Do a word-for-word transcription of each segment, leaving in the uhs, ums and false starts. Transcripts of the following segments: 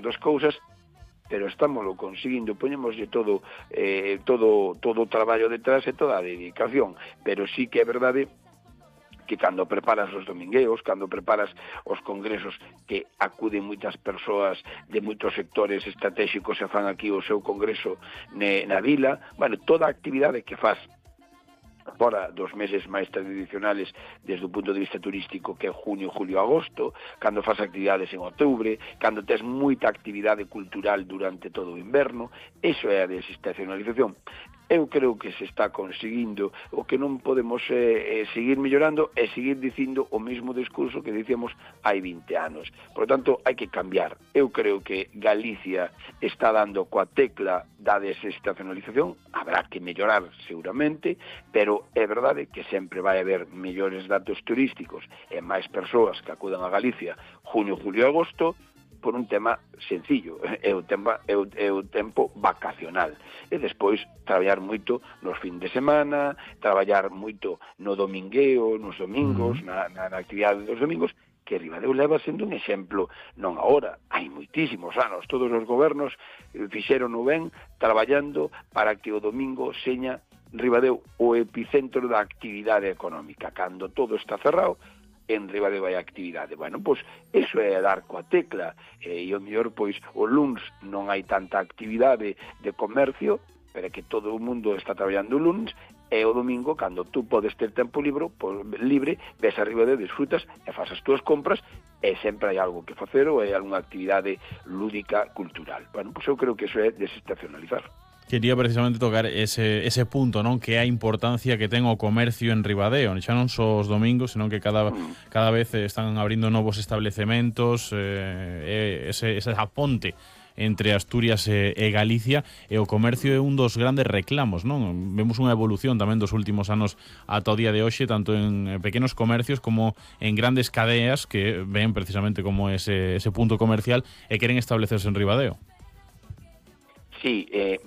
das cousas, pero estámoslo conseguindo, poñemoslle todo eh, todo todo o traballo detrás e toda a dedicación, pero sí que é verdade que cando preparas os domingueos, cando preparas os congresos que acuden moitas persoas de moitos sectores estratégicos e fan aquí o seu congreso ne, na vila, bueno, toda a actividade que faz fora dos meses máis tradicionales desde o punto de vista turístico, que é junio, julio, agosto, cando faz actividades en outubro, cando tes moita actividade cultural durante todo o inverno, iso é a desestacionalización. Eu creo que se está conseguindo, o que non podemos eh, eh, seguir mellorando é seguir dicindo o mesmo discurso que dicíamos hai vinte anos. Por lo tanto, hai que cambiar. Eu creo que Galicia está dando coa tecla da desestacionalización, habrá que mellorar seguramente, pero é verdade que sempre vai haber mellores datos turísticos e máis persoas que acudan a Galicia junio, julio e agosto, por un tema sencillo, é o, tema, é, o, é o tempo vacacional. E despois traballar moito nos fin de semana, traballar moito no domingueo, nos domingos, na, na, na actividade dos domingos, que Ribadeo leva sendo un exemplo, non agora, hai moitísimos anos, todos os gobernos fixeron o ben traballando para que o domingo seña Ribadeo o epicentro da actividade económica. Cando todo está cerrado, en Ribadeo hai actividade. Bueno, pois, iso é dar coa tecla, e o mellor, pois, o luns non hai tanta actividade de comercio, pero é que todo o mundo está traballando o luns, e o domingo, cando tú podes ter tempo libre, pois, libre, ves a Ribadeo, disfrutas e faz as túas compras, e sempre hai algo que facer ou hai algunha actividade lúdica, cultural. Bueno, pois eu creo que iso é desestacionalizar. Quería precisamente tocar ese, ese punto, non? Que é a importancia que ten o comercio en Ribadeo, xa non só os domingos, senón que cada, cada vez están abrindo novos establecementos, eh, ese, esa ponte entre Asturias e, e Galicia, e o comercio é un dos grandes reclamos, non? Vemos unha evolución tamén dos últimos anos ata o día de hoxe, tanto en pequenos comercios como en grandes cadeas que ven precisamente como ese, ese punto comercial e queren establecerse en Ribadeo. Sí, eh,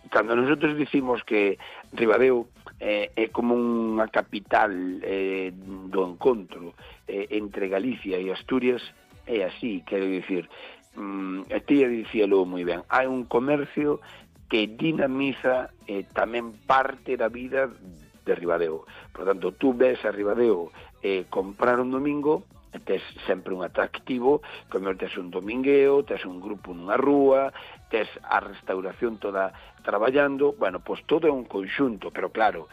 cando nosotros dicimos que Ribadeo eh, é como unha capital eh, do encontro eh, entre Galicia e Asturias, é así, quero dicir, mm, a tía dicíalo moi ben, hai un comercio que dinamiza eh, tamén parte da vida de Ribadeo. Por tanto, tú ves a Ribadeo eh, comprar un domingo, tes sempre un atractivo, como tes un domingueo, tes un grupo nunha rúa, tes a restauración toda traballando, bueno, pois todo é un conxunto, pero claro,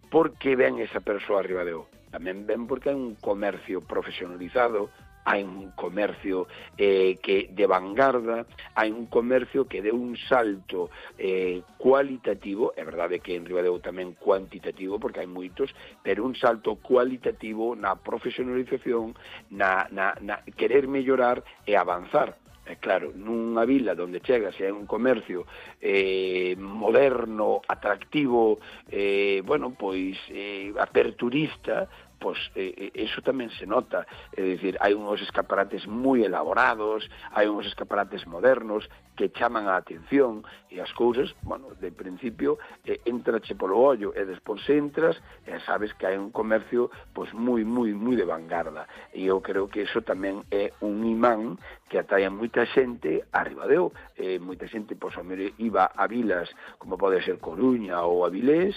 por que ven esa persoa a Ribadeo? Tamén ven porque hai un comercio profesionalizado, hai un comercio eh, que de vanguarda, hai un comercio que deu un salto eh, cualitativo, é verdade que en Ribadeo tamén cuantitativo, porque hai moitos, pero un salto cualitativo na profesionalización, na, na, na querer mellorar e avanzar. É claro, nunha vila onde chegas e hai un comercio eh, moderno, atractivo, eh, bueno, pois eh, aperturista, pois eh, eso tamén se nota, é dicir, hai uns escaparates moi elaborados, hai uns escaparates modernos que chaman a atención e as cousas, bueno, de principio eh, entrache polo ollo e despois entras e sabes que hai un comercio pois moi, moi, moi de vanguarda, e eu creo que eso tamén é un imán que atrae a moita xente a Ribadeo, eh, moita xente, pois, a mellor iba a vilas como pode ser Coruña ou Avilés,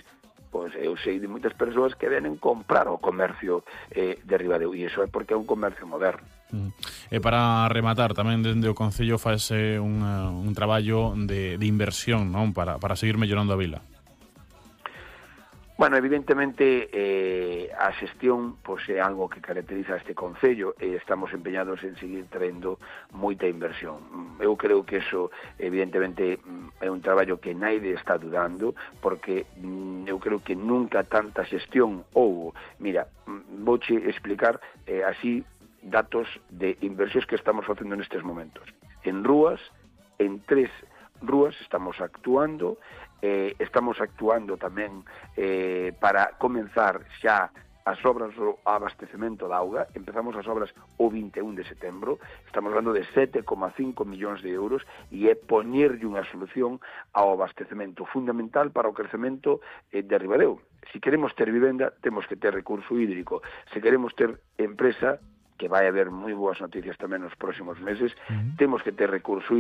pois eu sei de moitas persoas que venen comprar o comercio eh, de Ribadeo, e iso é porque é un comercio moderno. Mm. E para rematar, tamén dende o Concello fase un, un traballo de, de inversión, non? Para, para seguir mellorando a vila. Bueno, evidentemente eh, a xestión pois, é algo que caracteriza este Concello e estamos empeñados en seguir traendo moita inversión. Eu creo que eso evidentemente é un traballo que naide está dudando, porque eu creo que nunca tanta xestión houbo. Mira, vouche explicar eh, así datos de inversións que estamos facendo nestes momentos. En rúas, en tres rúas estamos actuando. Eh, estamos actuando tamén eh, para comenzar xa as obras do abastecemento da auga. Empezamos as obras o vinte e un de setembro, estamos hablando de sete coma cinco millóns de euros, e é poñerlle unha solución ao abastecemento fundamental para o crecemento eh, de Ribadeo. Se queremos ter vivenda, temos que ter recurso hídrico. Se queremos ter empresa, que vai haber moi boas noticias tamén nos próximos meses, uh-huh. temos que ter recurso hídrico.